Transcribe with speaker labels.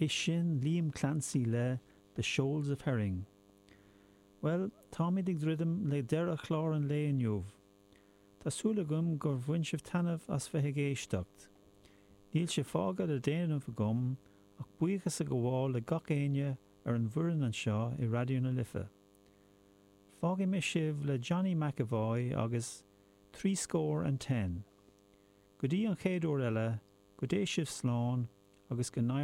Speaker 1: é sin Liam Clancy le The Shoals of Herring. Bhuel, táimid ag druidim le deireadh chlár an lae inniu. Tá súil agam gur bhain sibh taitneamh as bheith ag éisteacht. Níl sé fágtha le déanamh agam ach buíochas a ghabháil le gach éinne ar an bhfoireann anseo i Raidió na Life. Fágfaidh mé sibh le Johnny McEvoy agus Threescore and Ten. Go dtí an chéad uair eile, go dté sibh slán agus go n-éirí.